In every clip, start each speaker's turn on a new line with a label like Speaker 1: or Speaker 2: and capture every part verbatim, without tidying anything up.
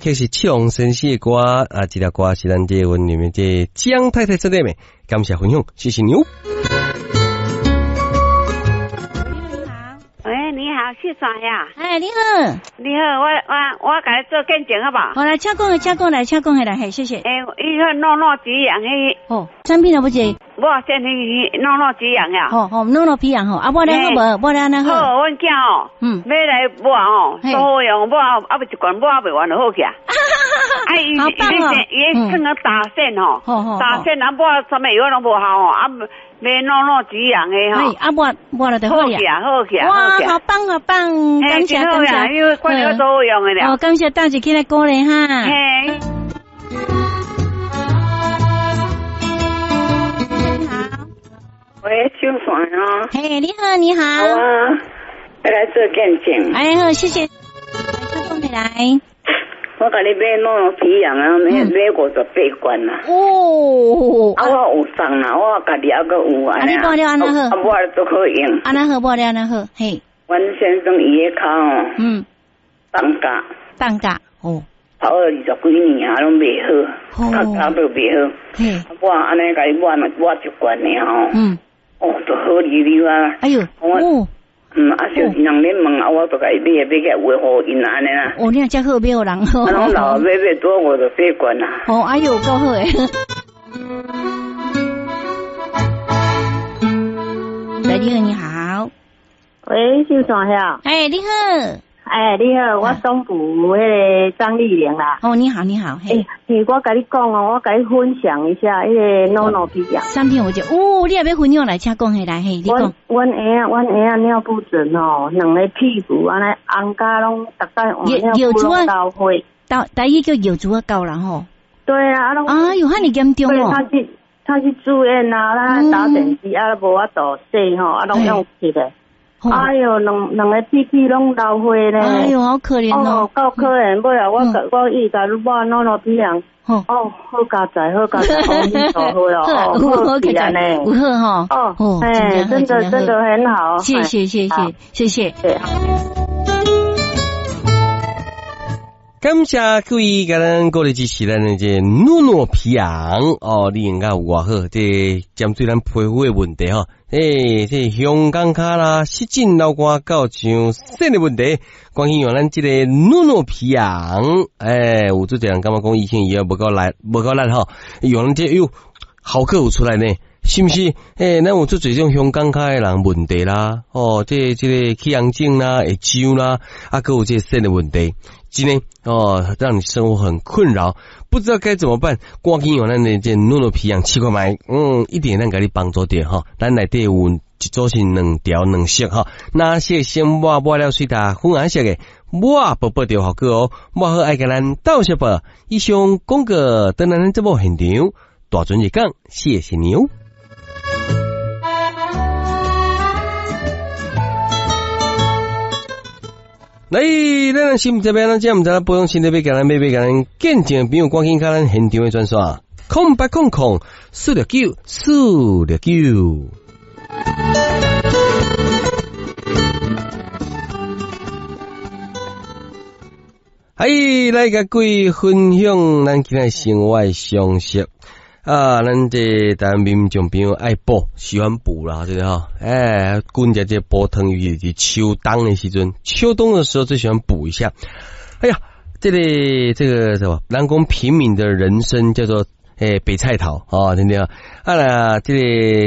Speaker 1: 這是唱先生的歌啊，這條歌是咱這阮裡面這江太太做的，感謝分享，謝謝你哦。
Speaker 2: 喂，你好，謝總呀。
Speaker 3: 哎，你好，
Speaker 2: 你好，我我我共你做見證好無？
Speaker 3: 好來，請講，請講來，請講來，嘿，謝謝。
Speaker 2: 欸，伊個諾諾皮揚彼。
Speaker 3: 哦，產品有無這？
Speaker 2: 我先去諾諾皮揚呀。
Speaker 3: 吼吼，諾諾皮揚吼，啊，抹了好無？抹了按呢好。
Speaker 2: 好，阮囝吼，嗯，買來抹吼，都好用，抹啊未一罐抹未完就好起啊。啊，伊伊伊伊算個打線吼，打線啊抹啥物藥攏無效吼，啊。買諾諾皮揚的吼，
Speaker 3: 啊抹抹了就好
Speaker 2: 呀，好起啊，
Speaker 3: 哇，好棒好棒，感謝感謝，
Speaker 2: 因為關鍵都好用的了。
Speaker 3: 哦，感謝大家起來鼓勵哈。
Speaker 2: 嘿。
Speaker 3: 你好。
Speaker 4: 喂，秋璇啊。
Speaker 3: 嘿，你好，你好。
Speaker 4: 好啊，來做見證。
Speaker 3: 哎好，謝謝。來，來。
Speaker 4: 我共你買諾諾皮揚啊，買買五十八罐啊。
Speaker 3: 哦。
Speaker 4: 啊，我有送啦，我家己猶閣有啊。
Speaker 3: 啊，你抹了按呢好？
Speaker 4: 啊，抹了足好用。
Speaker 3: 按呢好，抹了按呢好，嘿。
Speaker 4: 阮先生伊个跤吼，
Speaker 3: 嗯，
Speaker 4: 放假。
Speaker 3: 放假哦。
Speaker 4: 跑了二十幾年啊，攏袂好，較早都袂好。
Speaker 3: 嘿。
Speaker 4: 我按呢共伊抹抹一罐爾吼。
Speaker 3: 嗯。
Speaker 4: 哦，就好哩哩啊。
Speaker 3: 哎喲，哦。
Speaker 4: 嗯，啊，就是人咧問啊，我就共伊買，買起來有予𪜶按呢啦。
Speaker 3: 哦，你若遮好買予人好。
Speaker 4: 啊，攏老買買多五十八罐啊。
Speaker 3: 哦，哎喲，夠好誒。喂，你好，你好。
Speaker 5: 喂，秀璇遐。
Speaker 3: 哎，你好。
Speaker 5: 哎，你好，我東埔彼个張麗玲啦。
Speaker 3: 哦，你好，你好。
Speaker 5: 欸，我共你講哦，我共你分享一下彼個諾諾皮揚。
Speaker 3: 三天我就哦，你也欲分享來，請講起來，嘿，你講。
Speaker 5: 阮阮嬰仔，阮嬰仔尿布疹吼，兩个屁股按呢紅甲攏，逐擺換尿布攏流血。
Speaker 3: 台台語叫尿珠仔狗啦吼。
Speaker 5: 對啊，啊攏。
Speaker 3: 哎喲，遐爾嚴重哦。
Speaker 5: 他去他去住院啊，咱打點滴啊，無法度洗吼，啊攏用吸的。哎喲，兩兩个屁屁攏流血咧！
Speaker 3: 哎喲，好可憐哦！
Speaker 5: 夠可憐，尾後我我伊共抹諾諾皮揚，哦，好佳哉，好佳哉，好好哦，好起來呢，
Speaker 3: 有好吼，
Speaker 5: 哦，哎，真的真的很好，
Speaker 3: 謝謝謝謝謝謝。
Speaker 1: 感謝各位共咱鼓勵支持咱的這諾諾皮揚哦，你用甲有偌好，這針對咱皮膚的問題吼，欸，這香港跤啦、濕疹、流汗到像腎的問題，趕緊用咱這個諾諾皮揚，欸，有足濟人感覺講以前伊也無夠力，無夠力吼，用咱這喲，效果有出來呢。是毋是？欸，咱有足濟種香港跤的人問題啦，哦，這這個起紅疹啦，會痒啦，啊，閣有這個腎的問題，真的哦，讓你生活很困擾，不知道該怎麼辦。趕緊用咱的這諾諾皮揚試看覓，嗯，一定會當共你幫助著吼。咱內底有一組是兩條兩色吼，藍色先抹抹了水焦粉紅色的抹薄薄就效果哦，抹好愛共咱鬥相報。以上廣告，等咱節目現場大準日講，謝謝你哦。來，咱心這邊，咱這毋知影保養身體欲共咱買欲共咱見證朋友，趕緊共咱現場的專線，空八空空四六九四六九。哎，來共各位分享咱今仔生活的常識。啊，咱這台灣民眾朋友愛補，喜歡補啦，對不對吼？哎，滾食這補湯魚是秋冬的時陣，秋冬的時候最喜歡補一下。哎呀，這個這個什麼，咱講平民的人參叫做欸白菜頭，哦，對不對？啊啦，這個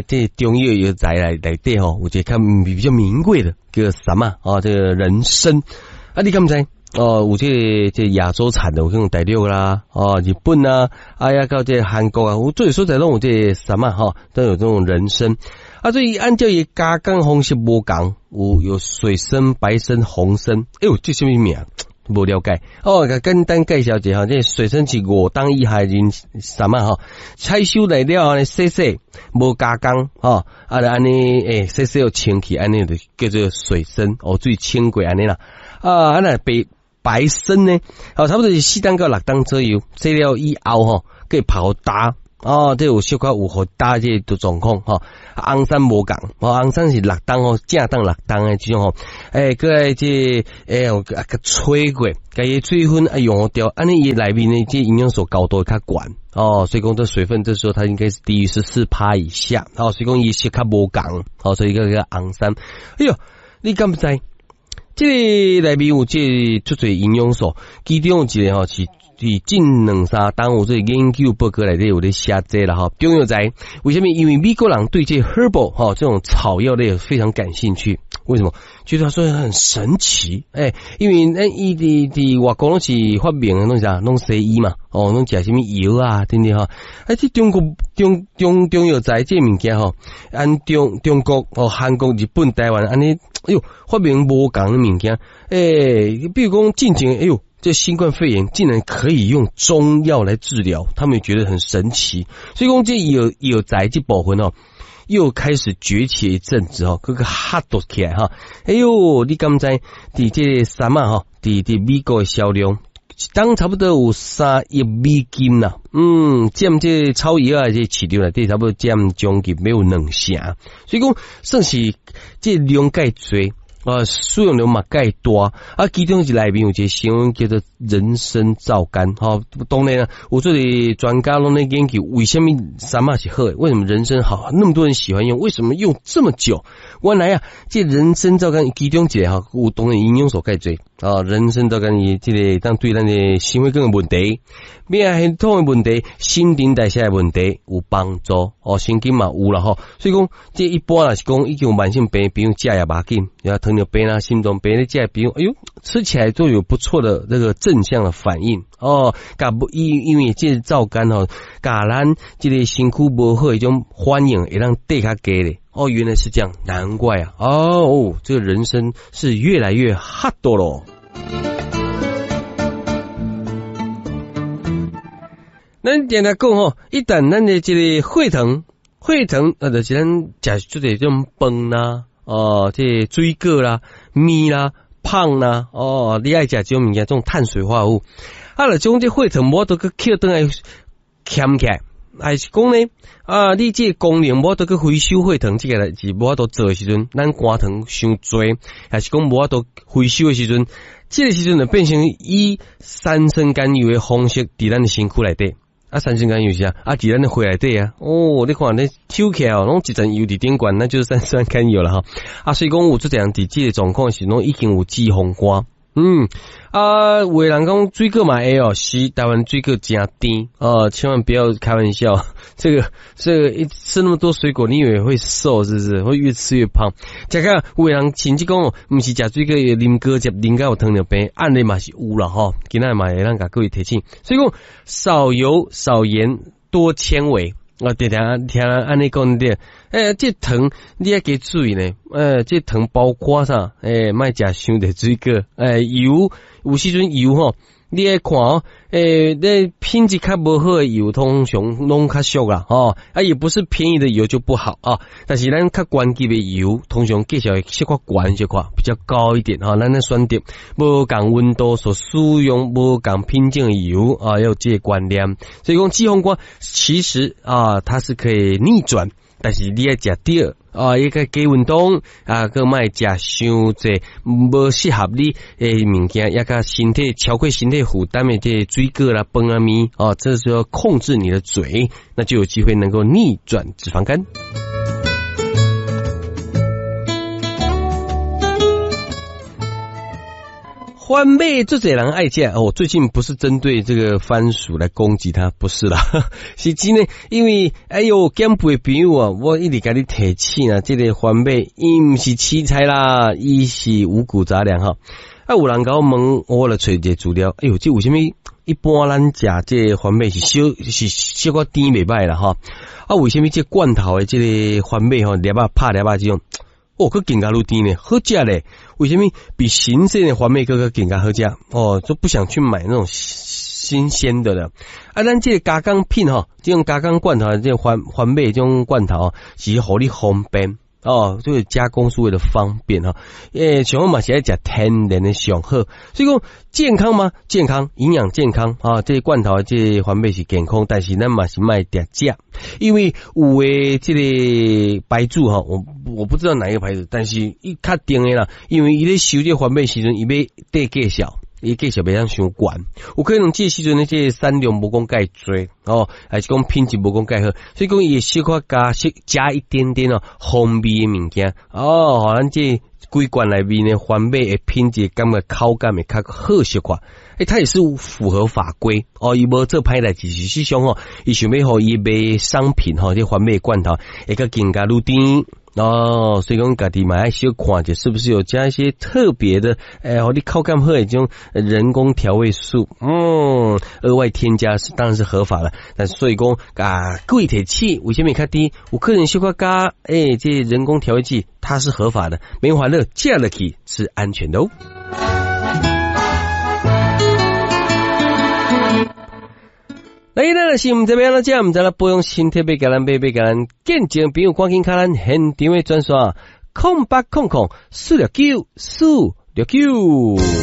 Speaker 1: 這個中藥藥材內內底吼，有一個較比較名貴的，叫什麼？哦，這個人參。啊，你敢知？哦，有這個這亞洲產的，有像大陸啦，哦，日本啊，哎呀，到這韓國啊，有這所在攏有這個什麼哈，都有這種人參。啊，所以按照伊加工方式無仝，有有水參、白參、紅參。哎喲，這啥物名？無了解。哦，簡單介紹一下，這水參是五冬以下人什麼哈？採收來了後呢，洗洗，無加工，吼，啊，就按呢，欸，洗洗又清氣，按呢就叫做水參，哦，水清過按呢啦。啊，啊若白白參呢？哦，差不多是四冬到六冬左右，洗了以後吼，閣泡焦，哦，這有小可有予焦這個狀況吼。紅杉無仝，哦，紅杉是六冬吼，正冬六冬的這種吼，欸，閣來這欸，啊，閣吹過，共伊水分啊溶掉，按呢伊內面的這營養素高度會較懸哦，所以講這水分這時候它應該是低於十四趴以下，哦，所以講伊色較無仝，哦，所以閣叫紅杉。哎喲，你敢毋知？這个內面有這個足濟營養素，其中有一個吼是佇近兩三冬有這個研究報告內底有咧寫這啦吼。中藥材為啥物？因為美國人對這 herbal 吼這種草藥類非常感興趣。為什麼？覺得說很神奇，欸，因為咱伊佇佇外國攏是發明的攏是啥，攏西醫嘛，哦，攏食啥物藥啊，等等吼。啊，這中國中中中藥材這个物件吼，按中中國哦，韓國、日本、台灣按呢，哎喲，發明無仝的物件，欸，比如講進前，哎喲，這新冠肺炎竟然可以用中藥來治療，他們也覺得很神奇。所以講這藥藥材這部分哦，又開始崛起一陣子哦，閣閣 hot 起來哈。哎喲，你敢知佇這个杉仔吼，佇佇美國的銷量，一冬差不多有三億美金啦。嗯，佔這草藥仔這市場內底差不多佔將近欲有兩成，所以講算是這量蓋濟。啊，使用量嘛蓋大，啊，其中一內面有一個成分叫做人參皂苷，吼，當然啊，有這個專家攏咧研究為啥物杉仔是好的，為什麼人參好，那麼多人喜歡用，為什麼用這麼久？原來啊，這人參皂苷其中一個吼，有當然營養素蓋濟啊，人參皂苷伊這個當對咱的心血管的問題、免疫系統的問題、新陳代謝的問題有幫助哦，神經嘛有啦吼，所以講這一般若是講已經有慢性病，比如食也無要緊，然後糖尿病啦、心臟病咧，食比如，哎喲，吃起來都有不錯的那個正向的反應哦。共因因為這個皂苷吼，共咱這個身軀無好的這種反應會當低較低咧。哦，原來是這樣，難怪啊！哦，這個人參是越來越 hot 咯。咱定定講吼，一旦咱的這個血糖，血糖啊，就是咱食這種飯啦，哦，這個水果啦、麵啦、胖啦，哦，你愛食這種物件，這種碳水化合物，啊，若將這血糖無法度閣抾轉來俭起來，還是講呢？啊，你這個功能無法度去回收血糖，這個代誌無法度做的時陣，咱肝糖傷濟，還是講無法度回收的時陣，這個時陣就變成以三酸甘油的方式佇咱的身軀內底。啊，三酸甘油是啥？啊，佇咱的血內底啊。哦，你看你抽起來哦，攏一層油佇頂懸，那就是三酸甘油了哈。啊，所以講有這樣佇這個狀況是攏已經有脂肪肝。嗯，啊，有的人講水果嘛會哦，是台灣水果誠甜哦，千萬不要開玩笑，這個這個一吃那麼多水果，你以為會瘦是不是？會越吃越胖。食甲有的人甚至講，毋是食水果，啉果汁啉甲有糖尿病，按呢嘛是有啦吼。今仔嘛會當共各位提醒，所以講少油少鹽多纖維。我常常聽人按呢講著，欸，這糖你愛加注意呢，欸，這糖包括啥？欸，莫食傷濟水果，欸，油有時陣油吼，你愛看哦，欸，那品質較無好的油通常攏較俗啦，吼，啊，也不是便宜的油就不好啊，但是咱較高級的油，通常價錢會小可懸小可比較高一點哈，咱咧選擇無仝溫度所使用無仝品種的油啊，要有這個觀念。所以講脂肪肝其實啊，它是可以逆轉，但是你愛食對啊，伊個加運動啊，閣莫食傷濟無適合你的物件，也佮身體超過身體負擔的這個水果啦、飯啊、麵啊，這時候控制你的嘴，那就有機會能夠逆轉脂肪肝。番麥足濟人愛食哦，最近不是針對這個番薯來攻擊它，不是啦，是真的，因為哎喲，減肥朋友啊，我一直共你提醒啊，這個番麥伊毋是青菜啦，伊是五穀雜糧哈。啊，有人共我問，我來揣一個資料，哎喲，這為啥物一般咱食這個番麥是小是小可甜袂䆀啦哈？啊，為啥物這罐頭的這個番麥吼，粒仔拍粒仔這種？哦，閣更加愈甜呢，好食咧。為啥物比新鮮的番麥閣閣更加好食？哦，就不想去買那種新鮮的了。啊，咱這個加工品吼，這種加工罐頭，這個番番麥這種罐頭，是予你方便。哦，這個加工是為了方便哈。欸，像我嘛是愛食天然的上好，所以講健康嗎？健康，營養健康啊。這個罐頭這個番麥是健康，但是咱嘛是莫定食，因為有的這個牌子哈，我我不知道哪一個牌子，但是伊確定的啦，因為伊咧收這個番麥時陣，伊欲綴價數。伊價數袂當傷懸，有可能這個時陣呢，這個產量無講蓋濟哦，還是講品質無講蓋好，所以講伊會小可加加一點點哦，風味的物件哦，予咱這規罐內面的番麥的品質感覺口感會較好小可。欸，它也是符合法規哦，伊無做歹代誌，事實上吼，伊想欲予伊賣商品吼，這番麥罐頭會較更加愈甜。哦，所以講家己嘛愛小看者，是不是有加一些特別的？欸，予你口感好的這種人工調味素，嗯，額外添加是當然是合法的。但是所以講啊，貴鐵氣為啥物較低？有可能小可加，欸，這人工調味劑它是合法的，沒法樂食落去是安全的哦。來，咱若是毋知欲按怎食，毋知咧保養身體，欲共咱買，欲共咱見證朋友，趕緊敲咱現場的專線：空八空空四六九四六九。